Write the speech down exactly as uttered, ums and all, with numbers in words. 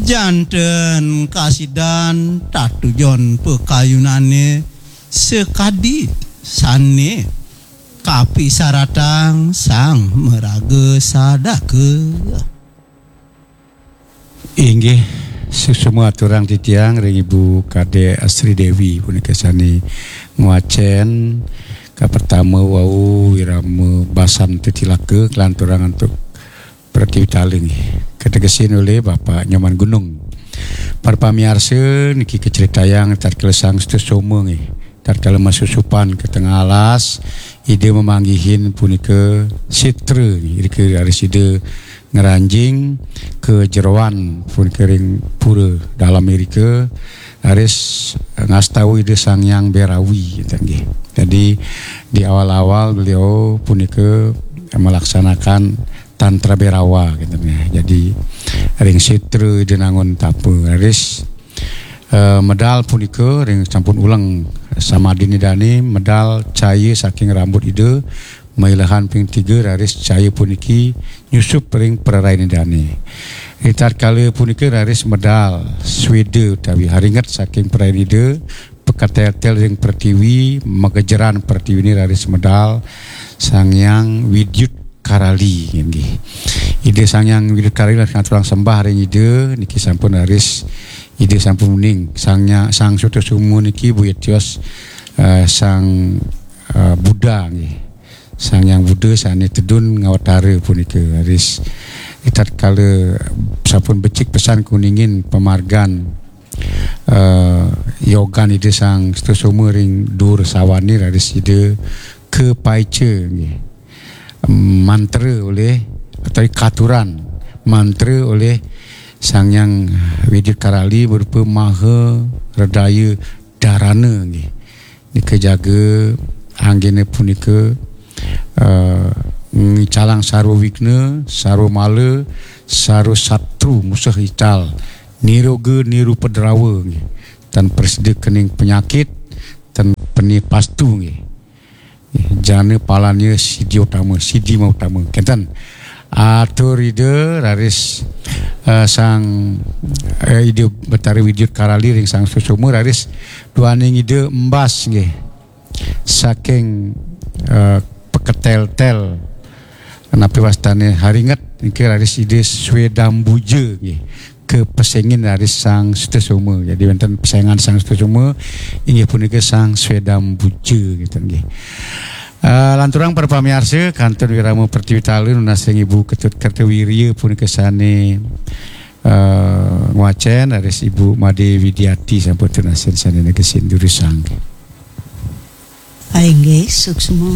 Janten kasidan tatujon pakayunane sakadi sane kapisaratang sang maraga sadaka. Inggih, suksma aturang titiang ring Ibu Kadek Sri Dewi punika sane ngwacen kapertama wau wirama basan tetilaka kalanturang antuk Pratiwitali nggih. Kategesin olih Bapak Nyoman Gunung. Para pamiarsa niki kacritayang tatkala Sang Sutasoma nggih. Tatkala masusupan ka tengah alas, Ida mamanggihin punika sitra nggih. Irika raris Ida ngranjing ka jeroan punika ring pura dalam irika, raris ngastawa Ida Sang Hyang Berawi, gitu nggih. Jadi di awal-awal beliau punika melaksanakan tantra Berawa, gitu nggih. Jadi ring sitra Ida nangun tapa, raris eh, medal punika ring sampun uleng samadine dane, medal cahaya saking rambut Ida mailehan ping tiga, raris cahaya puniki nyusup ring prarain Idane. Ri tatkala punika raris medal sweda utawi haringet saking prarain Ida, paketel-tel ring pertiwi, magejeran pertiwine raris medal Sang Hyang Widyut Karali, inggih. Ida Sang Hyang Widyut Karali ngaturang sembah ring Ida, niki sampun raris Ida sampun uning. Sang Nya-, Sang Sutasoma niki boya tios, eh, Sang, eh, Buddha, nggih. Sang Hyang Buddha sane tedun ngawatara punika. Raris ritatkala sampun becik pesan kuningin pamargan, eh, yogan Ida Sang Sutasoma ring dur sawane, raris Ida kapaica, nggih. Mantra oleh, atau katuran mantra oleh Sang Hyang Widyut Karali berupa Maha Redaya Darana, nggih. Nika jaga anggene punika, eh, ngicalang sarwa wigna, sarwa mala, sarwa satru musuh ical, niroga nirupadrawa, nggih. Tan prasida kening penyakit, tan peni pastu, nggih. Jana palanya sidi utama, sidi mautama. Kenten. Atur Ida raris, eh, Sang, eh, Ida Betara Widyut Karali ring Sang Sutasoma, raris duaning Ida embas, nggih. Saking, eh, paketel-tel, napi wastane haringet, niki raris Ida Swedambuja, nggih. Kapesengin raris Sang Sutasoma. Jadi wenten pesengan Sang Sutasoma, inggih punika Sang Swedambuja, gitu nggih. Eh, lanturang para pamiarsa, kantun wirama Pertiwi Tala nunas ring Ibu Ketut Kertawirya punika sane, eh, ngwacen, raris Ibu Made Widiati sampun tunasin sane negesin durusang. Inggih, suksma.